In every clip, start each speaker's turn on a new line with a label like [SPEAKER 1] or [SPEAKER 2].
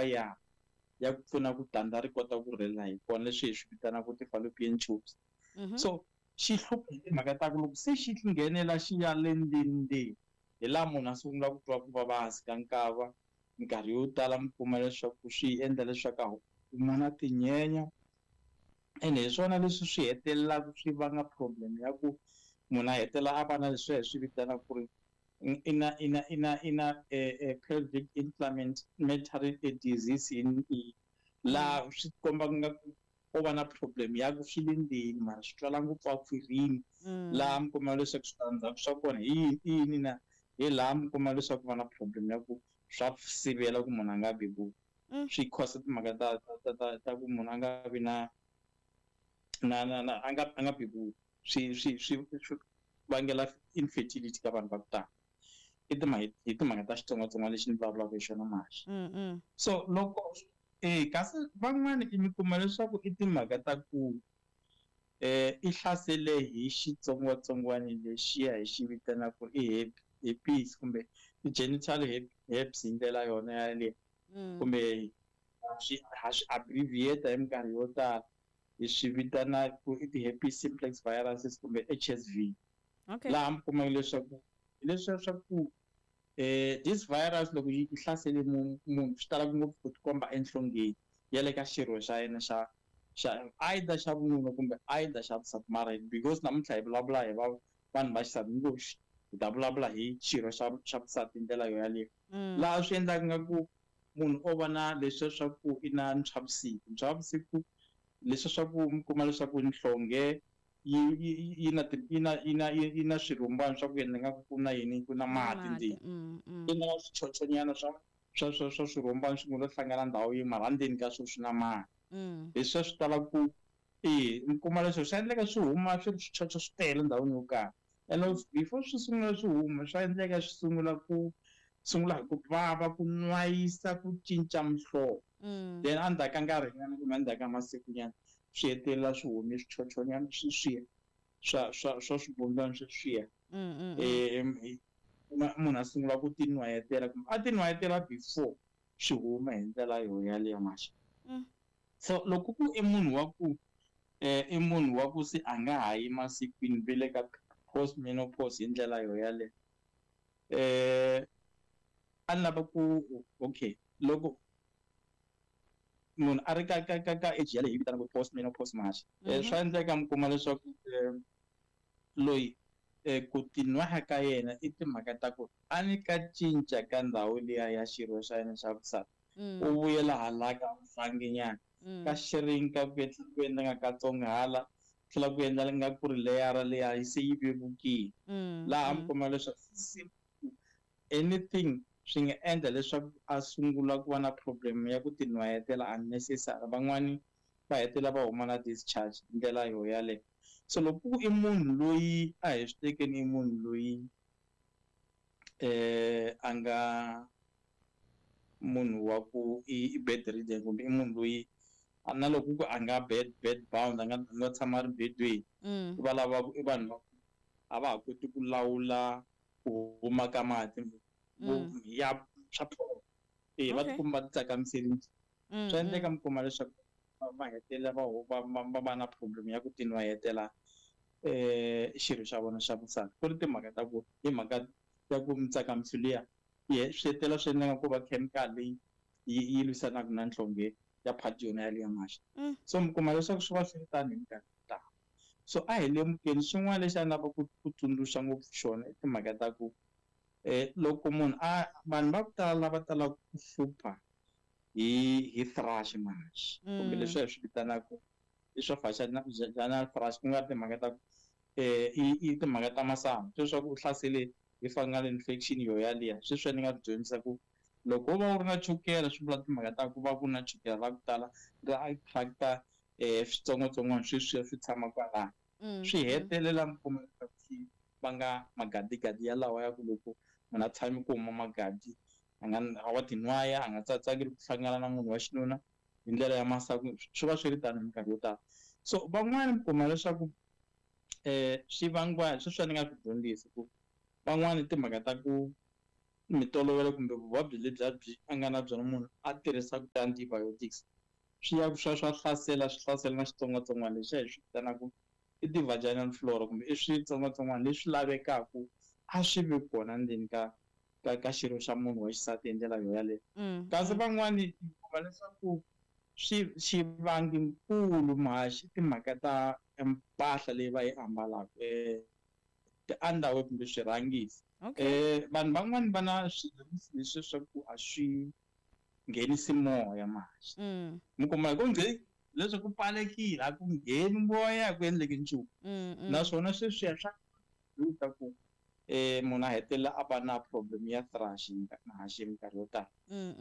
[SPEAKER 1] Ya ya ku pfuna ku tandza ri kota ku rhela hi kona, leswi hi swi vitanaka ti-fallopian tubes. So xi hlupha hi timhaka ta ku loko se xi nghenela xi ya le ndzeni ndzeni, hi laha munhu a sungula ku twa ku vava hansi ka nkava. Minkarhi yo tala mi kuma leswaku swi endla leswaku a kuma na tinyenya, ene hi swona leswi swi hetelelaka swi vanga problem ya ku munhu a hetelela a va na leswi hi swi vitanaka ku ri i na pelvic inflammatory disease, in laha swi komba nga ku ko va na problem ya ku swi le ndzeni, mara swi twala ngopfu a khwirini. Laha mi kuma leswaku switandzhaku swa kona hi yini, i yini na hi laha mi kuma leswaku va na problem ya ku swa sivela ku munhu a nga bebuli. Swi cause timhaka ta ku munhu a nga vi na a nga bebuli, swi vangela infertility ka vanhu va ku tala. I timhaka, hi timhaka ta xitsongwatsongwana lexi ni vulavulaka hi xona manje. So loko kasi van'wani i mi kuma leswaku i timhaka ta ku i hlasele hi xitsongwatsongwana lexiya hi xi vitanaka i herpes kumbe i-genital herpes hi ndlela yona yaleyo, kumbe swi ha swi abbreviate hi minkarhi yo tala hi swi vitana ku i ti-herpes simplex viruses kumbe HSV. Laha mi kumaka leswaku leswiya swa ku this virus loko yi hlasele munhu, swi tala ngopfu ku tikomba enhlongeni ya le ka xirho xa yena xa either xa vununa kumbe either xa vusati. Mara because namuntlha hi vulavula hi va vanhu va xisati ngopfu, hi ta vulavula hi xirho xa vusati hi ndlela yo yaleyo. Laha swi endlaka nga ku munhu o va na leswiya swa ku i na ntshwavusiku, ntshwavusiku leswiya swa ku mi kuma leswaku nhlonge yi na yi na yi na yi na swirhumbana swa ku endla nga ku na yini, ku na mati ndzeni. I na swichochonyana swa swirhumbana swi ngo lo hlangana ndhawu yin'we, mara ndzeni ka swona swi na mati. Leswiya swi tala ku mi kuma leswaku swi endleka swi huma swi ri swichocho swi tele ndhawini yo karhi, and before swi sungula swi huma, swa endleka swi sungula ku sungula hi ku vava, ku nwayisa, ku cinca muhlovo. Then endzhaku ka nkarhinyana kumbe endzhaku ka masikunyana, swi hetelela swi hume swichochonyana sweswiya swa swibundwana sweswiya. Munhu a sungula ku tinwayetela kumbe a tinwayetela before swi huma hi ndlela yo yaleyo maxa. So loko ku i munhu wa ku i munhu wa ku se a nga ha yi masikwini, ve le ka post menopause hi ndlela yo yaleyo, a ni lava ku, okay, loko munhu a ri ka age yaleyo hi vitanaka post menopause maxa, swa endleka mi kuma leswaku loyi ku tinwaya ka yena i timhaka ta ku a ni ka cinca ka ndhawu liya ya xirho xa yena xa vusati, u vuyela hala ka vuhlanginyana, ka xirinka, ku endla ku endla nga katsongo hala, tlhela ku endla nga ku ri leyara liya yi se yi vevukile. Laha mi kuma leswaku anything swi nga endla leswaku a sungula ku va na problem ya ku tinwayetela unnecessary. Van'wani va hetelela va huma na discharge hi ndlela yo yaleyo. So loko ku i munhu loyi, a hi swi tekeni i munhu loyi a nga munhu wa ku i bedridden, kumbe i munhu loyi na loko ku a nga bed bound, a nga tshama a ri bedweni, va lava i vanhu va a va ha koti ku lawula ku huma ka mati ya swa va tikuma va ti tsakamiserile. Swa endleka mi kuma leswaku va hetelela va va na problem ya ku tinwayetela xirho xa vona xa vusati, ku ri timhaka ta ku hi mhaka ya ku mitsakamiso liya swi hetelela swi endla ku va chemical leyi yi lwisanaka na nhlonge ya part yona yaliya maxa. So mi kuma leswaku swi va swi ri tano hi minkarhi yo tala. So a hi lemukeni. Xin'wana lexi a ni lava ku tsundzuxa ngopfu xona i timhaka ta ku loko munhu a vanhu va ku tala lava talaka ku hlupha hi thrush manje, kumbe leswi hi swi vitanaka i swa vaginal thrush, ku nga ri timhaka ta ku i timhaka ta masangu, sweswaku u hlasele hi fungal infection yo yaliya. Sweswiya ni nga ku dyondzisa ku loko wo va u ri na chukele, swi vula timhaka ta ku va ku na chukele ra ku tala ra attract-a switsongwatsongwana sweswiya swi tshama kwalano, swi hetelela mi kuma leswaku swi vanga magadigadi yalawa ya ku loko munhu a tshame ku huma magadi, a nga wa tinwaya, a nga tsatsakeli ku hlangana na munhu wa xinuna hi ndlela ya masangu. Swi va swi ri tano hi minkarhi yo tala. So van'wani mi kuma leswaku swi vangiwa sweswiya ni nga swi dyondzisi ku van'wani timhaka ta ku mitolovelo kumbe vuvabyi lebyi byi a nga na byona munhu a tirhisaka ti-antibiotics, swi ya swa hlasela, swi hlasela na xitsongwatsongwana lexi hi swi vitanaka i ti-vaginal flora, kumbe i switsongwatsongwana leswi lavekaka a swi vi kona ndzeni ka xirho xa munhu wa xisati hi ndlela yo yaleyo. Kasi van'wani kuma leswaku xivanginkulu mhaxi timhaka ta mpahla leyi va yi ambalaka, ti-underwear kumbe swirhangisi. Vanhu van'wani va na swirhangisi leswi swa ku a swi nghenisi moya mhaxi. Mi kuma hi ku leswi ku pfalekile a ku ngheni moya, a ku endleki nchumu. Naswona sweswiya swa ta ku munhu a hetelela a va na problem ya thrush mhaxi hi minkarhi yo tala.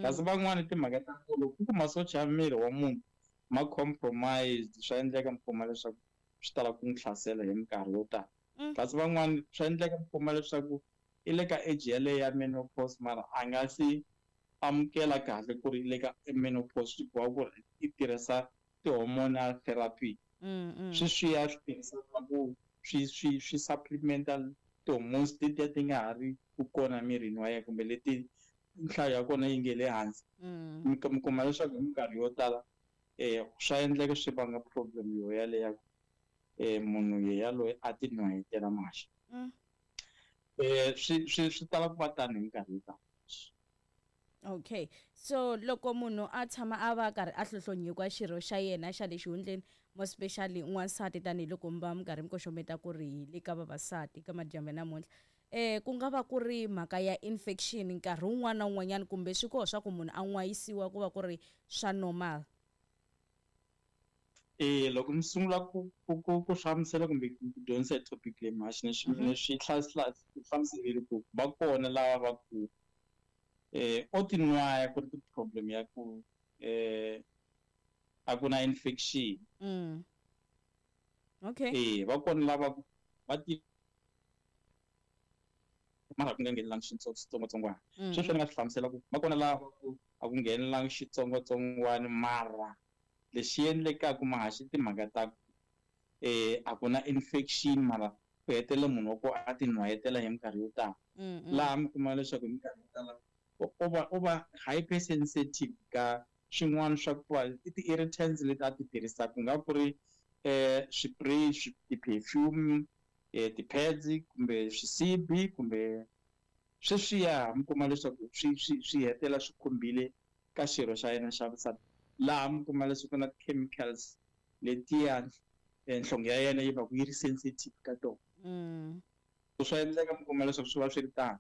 [SPEAKER 1] Kasi van'wani timhaka ta ku loko ku masocha ya miri wa munhu ma compromised, swa endleka mi kuma leswaku swi tala ku n'wi hlasela hi minkarhi yo tala. Kasi van'wani swa endleka mi kuma leswaku i le ka age yaleyo ya menopause, mara a nga si amukela kahle ku ri le ka menopause, swi boha ku ri i tirhisa ti-hormonal therapy. Sweswiya swi tirhisaka ku swi supplemental ti-hormones letiya ti nga ha ri ku kona mirini wa yena, kumbe leti nhlayo ya kona yi nge le hansi. Mi kuma leswaku hi minkarhi yo tala swa endleka swi vanga problem yo yaleyo munhu yaloye a ti nwayetela maxi. Swi tala ku va tano hi minkarhi yo tala.
[SPEAKER 2] Okay, so loko munhu a tshama a va karhi a hlohlonyiwa xirho xa yena xa le xihundleni, more especially n'wansati, tanihiloko mi va mi karhi mi koxometa ku ri hi le ka vavasati ka madyambu ya namuntlha, ku nga va ku ri mhaka ya infection nkarhi wun'wana na wun'wanyana, kumbe swi koho swa ku munhu a n'wayisiwa ku va ku ri swa normal?
[SPEAKER 1] Loko mi sungula ku hlamusela kumbe ku dyondzisa hi topic leyi mhaxi, ni swi hlamuserile ku va kona lava va ku o tinwaya ku ri ti-problem ya ku a ku na infection.
[SPEAKER 2] Okay.
[SPEAKER 1] Va kona lava va ti mara ku nga nghenelanga xitsongwatsongwana. Sweswo ni nga swi hlamusela ku va kona lava ku a ku nghenelanga xitsongwatsongwana, mara lexi endlekaka mahaxi timhaka ta ku a ku na infection, mara ku hetelela munhu wa ku a ti nwayetela hi minkarhi yo tala. Laha mi kuma leswaku hi minkarhi yo tala u va hypersensitive ka swin'wana swa ku va i ti-irritants leti a ti tirhisaka, ku nga ku ri spray, ti-perfume, ti-pads kumbe swisibi kumbe sweswiya, mi kuma leswaku swi hetelela swi khumbile ka xirho xa yena xa vusati. Laha mi kuma leswaku na ti-chemicals letiya nhlonge ya yena yi va ku yi ri sensitive ka tona. Swa endleka mi kuma leswaku swi va swi ri tano.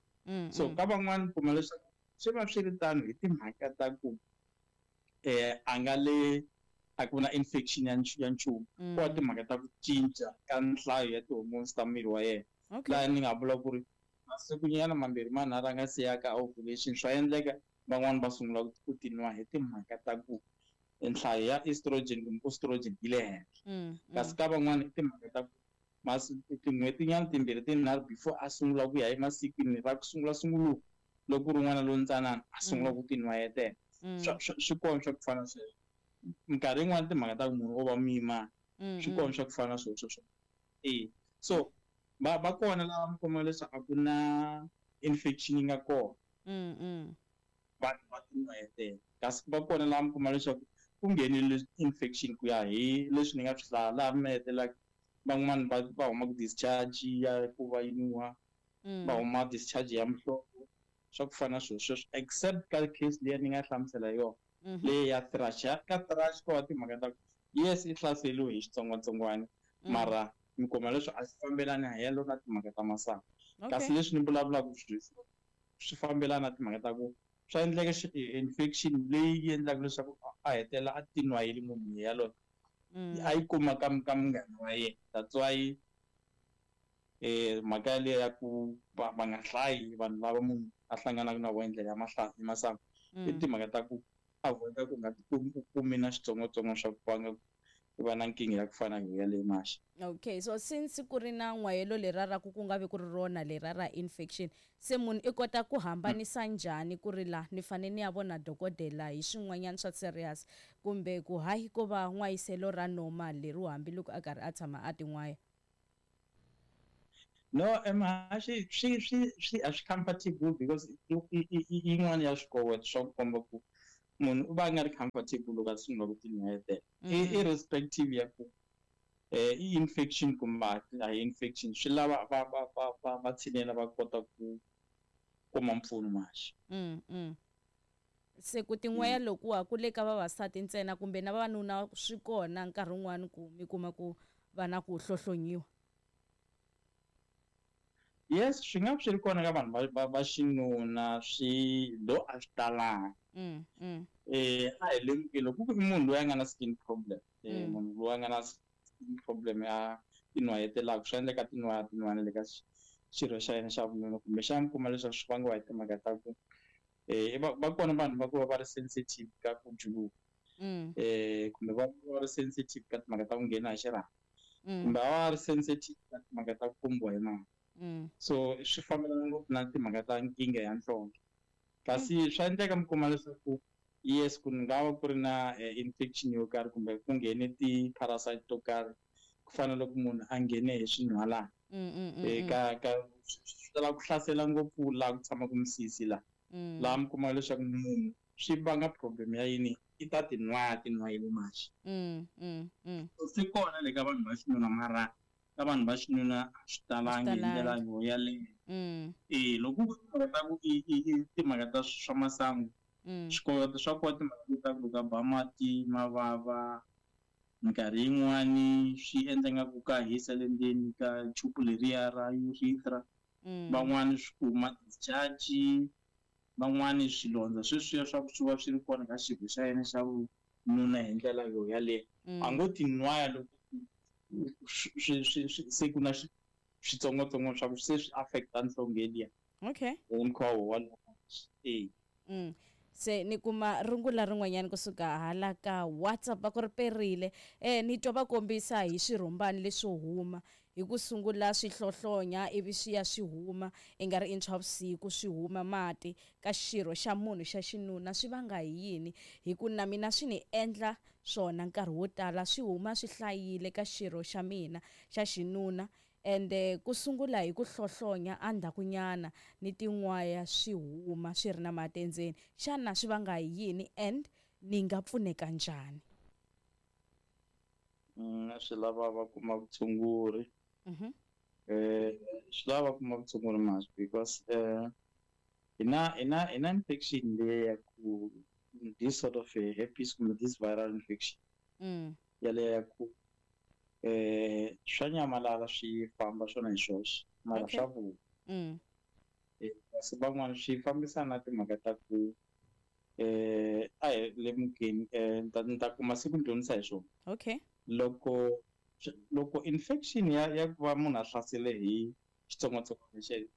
[SPEAKER 1] So ka van'wani mi kuma leswaku swi va swi ri tano hi timhaka ta ku a nga le a ku na infection ya nchumu. Ku va timhaka ta ku cinca ka nhlayo ya ti-hormones ta miri wa yena. Laha ni nga vula ku ri masikunyana mambirhi manharhu a nga si ya ka ovulation, swa endleka van'wani va sungula ku tinwa hi timhaka ta ku nhlayo ya estrogen kumbe estrogen yi le henhla. Kasi ka van'wani i timhaka ta ku tin'hwetinyana timbirhi tinharhu before a sungula ku ya emasikwini ra ku sungula sunguluka, loko ku ri n'wana lontsanana a sungula ku tinwayetela. Swi kona swa ku fana sweswo. Minkarhi yin'wani timhaka ta ku munhu o va muyimana, swi kona swa ku fana sweswo sweswo. So va kona lava mi kuma leswaku a ku na infection yi nga kona. Vanhu va tinwayetela. Kasi va kona lava mi kuma leswaku ku nghenile infection ku ya hi leswi ni nga swi hlaya, laha mi hetelelaka van'wani va huma ku discharge ya ku va yi nuha, va huma discharge ya muhlovo, swa ku fana na swilo sweswo, except ka case leyi ni nga hlamusela yona, leyi ya thrush. Ka thrush ko va timhaka ta ku yes i hlaseriwe hi xitsongwatsongwana, mara mi kuma leswi a swi fambelani helo na timhaka ta masangu. Kasi leswi ni vulavulaka swi fambelana na timhaka ta ku swa endleka infection leyi yi endlaka leswaku a hetelela a tinwayile munhu yaloye. A yi kuma ka munghana wa yena. That's why mhaka yaleyo ya ku va nga hlayi vanhu lava munhu a hlanganaka na vona hi ndlela ya masangu, i timhaka ta ku avoid ku nga tikumi u kumi na xitsongwatsongwana xa ku vanga ku va na nkingha ya ku fana na yaleyo maxi.
[SPEAKER 2] Okay, so since ku ri na n'wayelo lera ra ku nga vi ku ri rona lera ra infection, se munhu i kota ku hambanisa njhani ku ri la ni fanele ni ya vona dokodela hi swin'wanyana swa serious, kumbe ku hayi ko va n'wayiselo ra normal leriwa hambiloko a karhi a tshama a tin'waya?
[SPEAKER 1] No, emahaxi swi a swi comfortable because yin'wana ya swikoweto swa ku komba ku munhu u va a nga ri comfortable loko a sungula ku tinwayetela, irrespective ya ku i infection kumbe a hi infection, swi lava va tshinela va kota ku kuma mpfuno maxi.
[SPEAKER 2] Se ku tin'waya lokuwa ku le ka vavasati ntsena kumbe na vavanuna swi kona nkarhi wun'wani ku mi kuma ku va na ku hlohlonyiwa?
[SPEAKER 1] Yes, swi nga swi ri kona ka vanhu va xinuna, swi do a swi talanga. A hi lemukile loko ku i munhu loyi a nga na skin problem, munhu loyi a nga na skin problem ya tinwayetelaka, swi endleka tinwaya tin'wana le ka xirho xa yena xa vununa, kumbexana mi kuma leswaku swi vangiwa hi timhaka ta ku va kona vanhu va ku va va ri sensitive ka ku juluka, kumbe va va ri sensitive ka timhaka ta ku nghena hi xirhami, kumbe va va ri sensitive ka timhaka ta ku kombiwa hi mali. So swi fambelana ngopfu na timhaka ta nkingha ya nhlonge. Kasi swa endleka mi kuma leswaku yes, ku nga va ku ri na infection yo karhi kumbe ku nghene ti-parasite to karhi, ku fana na loko munhu a nghene hi swinhwalana. Ka swi tala ku hlasela ngopfu laha ku tshamaka misisi laha. Laha mi kuma leswaku munhu swi vanga problem ya yini, i ta tinwaya tinwayile maxi. Swi kona le ka vanhu va xinuna, mara ka vanhu va xinuna a swi talangi hi ndlela yo yaleyo. Loko ku ta ku i timhaka ta swa masangu, swikoweto swa kona timhaka ta ku loko a ba mati ma vava, minkarhi yin'wani swi endla nga ku ka hisa le ndzeni ka chupu leriya ra urethra. Van'wani swi kuma discharge, van'wani swilondza sweswiya swa ku swi va swi ri kona ka xirho xa yena xa vununa hi ndlela yo yaleyo. A ngo tinwaya loko se ku na switsongwatsongwana swa ku se swi affecta nhlonge liya.
[SPEAKER 2] Okay.
[SPEAKER 1] Hi mukhuva wolowo.
[SPEAKER 2] Se ni kuma rungula rin'wanyana kusuka hala ka WhatsApp va ku ri perile. Ni twa va kombisa hi swirhumbani leswo huma hi ku sungula swi hlohlonya ivi swi ya swi huma i nga ri i ntshwa vusiku swi huma mati ka xirho xa munhu xa xinuna, swi vanga hi yini? Hi ku na mina swi ni endla swona nkarhi wo tala, swi huma swi hlayile ka xirho xa mina xa xinuna, ende ku sungula hi ku hlohlonya endzhakunyana ni tin'waya swi huma swi ri na mati endzeni. Xana swi vanga hi yini and ni nga pfuneka njhani?
[SPEAKER 1] Swi lava va kuma vutshunguri. Swi lava va kuma vutshunguri masi because hina infection leyi ya ku this sort of a herpes kumbe this viral infection yaleyo ya ku swa nyamalala swi famba swona hi swoxe, mara swa vuya. Kasi van'wana swi fambisana na timhaka ta ku a hi lemukeni, ni ta kuma siku ni dyondzisa hi swona.
[SPEAKER 2] Okay.
[SPEAKER 1] Loko infection ya ku va munhu a hlasele hi xitsongwatsongwana lexi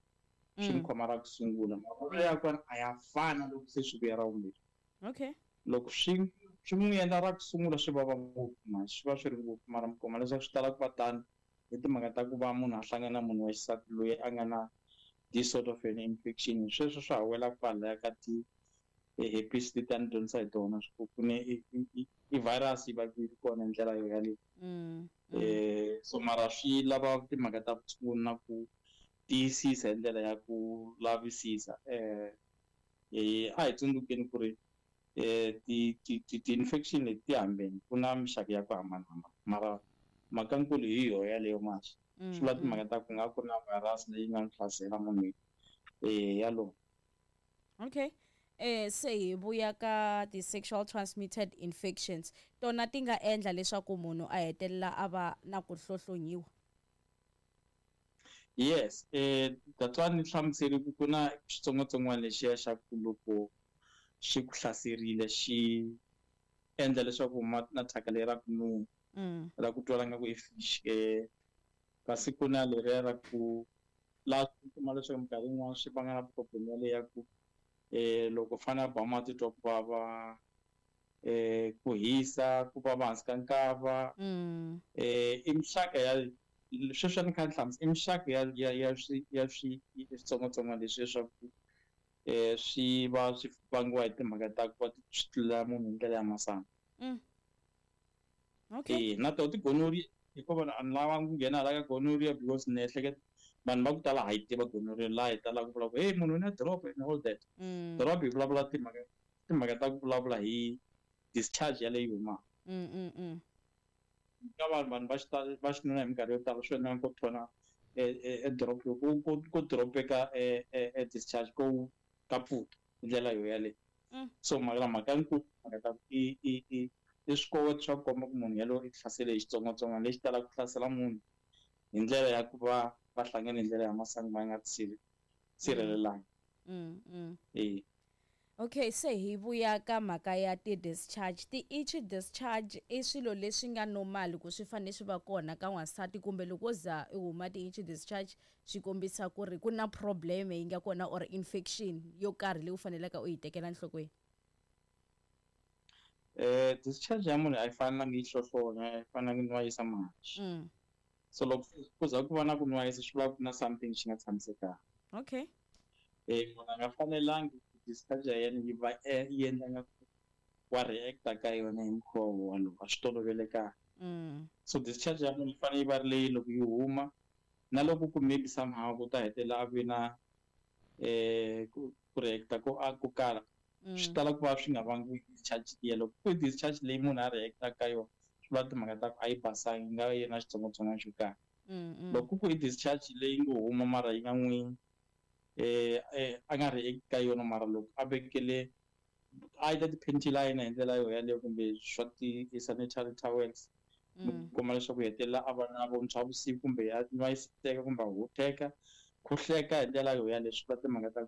[SPEAKER 1] swi n'wi khoma ra ku sungula, mavonelo ya kona a ya fani loko se swi vuya ra vumbirhi.
[SPEAKER 2] Okay.
[SPEAKER 1] Loko swi n'wi endla ra ku sungula swi vava ngopfu, mara swi va swi ri ngopfu, mara mi kuma leswaku swi tala ku va tano hi timhaka ta ku va munhu a hlangana na munhu wa xisati loyi a nga na this sort of an infection. Sweswo swa ha wela kwalaya ka ti herpes leti a ni dyondzisa hi tona, ku ni i virus yi va yi ri kona hi ndlela yo yaleyo. So mara swi lava timhaka ta vutshunguri na ku tiyisisa hi ndlela ya ku lavisisa. A hi tsundzukeni ku ri ti-infection leti ti hambene, ku na mixaka ya ku hambanahambana, mara mhakankulu hi yoho yaleyo masi. Swi vula timhaka ta ku nga ku na virus leyi nga n'wi hlasela munhu yalowo.
[SPEAKER 2] Okay. Se hi vuya ka ti-sexual transmitted infections, tona ti nga endla leswaku munhu a hetelela a va na ku hlohlonyiwa?
[SPEAKER 1] Yes, that's why ni hlamusele ku ku na xitsongwatsongwana lexiya xa ku loko xi ku hlaserile xi endla leswaku na thyaka leri ra ku nuha, ra ku twala nga ku i fish, kasi ku na leriya ra ku laha u kuma leswaku minkarhi yin'wana swi vanga na problem yaleyo ya ku loko u fanele a ba mati twa ku vava, ku hisa, ku vava hansi ka nkava. I mixaka ya sweswi a ni kha ni hlamusela, i mixaka ya switsongwatsongwana leswi leswaku swi va swi vangiwa hi timhaka ta ku va swi tlulela munhu hi ndlela ya masangu.
[SPEAKER 2] Okay.
[SPEAKER 1] Na tona ti-gonorrhea, hikuva a ni lavanga ku nghena hala ka gonorrhea because ni ehleketa Vanhu va ku tala ha yi tiva gonorrhea, laha hi talaka ku vula ku, "Hey, munhu u na drop," and all that. Drop hi vulavula timhaka ta ku vulavula hi discharge yaleyo humaka. Ka vanhu va xitalo va xinuna, hi minkarhi yo tala swi endlaka ku thona e drop, ku dropeka e discharge ko ka pfuta hi ndlela yo yaleyo. So mhaka nkulu, mhaka ta i swikoweto swa ku komba ku munhu yalowo i hlasele hi xitsongwatsongwana lexi talaka ku hlasela munhu hi ndlela ya ku va va hlangane hi ndlela ya masangu va nga sirhelelanga. E.
[SPEAKER 2] Okay, se hi vuya ka mhaka ya ti-discharge, ti-itchy discharge, i swilo leswi nga normal ku swi fanele swi va kona ka n'wansati, kumbe loko za i huma ti-itchy discharge swi kombisa ku ri ku na problem yi nga kona or infection yo karhi leyi u faneleke u yi tekela enhlokweni?
[SPEAKER 1] Discharge ya munhu a yi fanelangi yi hlohlonya, a yi fanelangi nwayisa mahaxi. So loko ku za ku va na ku nwayisa, swi vula ku na something xi nga tshamisekanga. Munhu a nga fanelangi discharge ya yena yi va yi endla nga ku wa react-a ka yona hi mukhuva wolowo, a swi tolovelekanga. So discharge ya munhu yi fanele yi va ri leyi loko yi huma, na loko ku maybe somehow ku ta hetelela a vi na ku react-a ko a ko kala, swi tala ku va swi nga vangiwi discharge liya. Loko ku discharge leyi munhu a react-a ka yona, swi vula timhaka ta ku a yi basanga, yi nga va yi ri na xitsongwatsongwana xo karhi. Loko ku i discharge leyi ngo huma mara yi nga n'wi a nga react ka yona, mara loko a vekele either ti-panty liner hi ndlela yo yaleyo kumbe swa ti-sanitary towels, kuma leswaku hetelela a va na vuntshwa vusiku kumbe ya nwayiseka kumbe a huteka khuhleka hi ndlela yo yaleyo, swi vula timhaka ta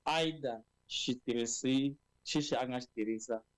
[SPEAKER 1] either xitirhisi xixi a nga xi tirhisa.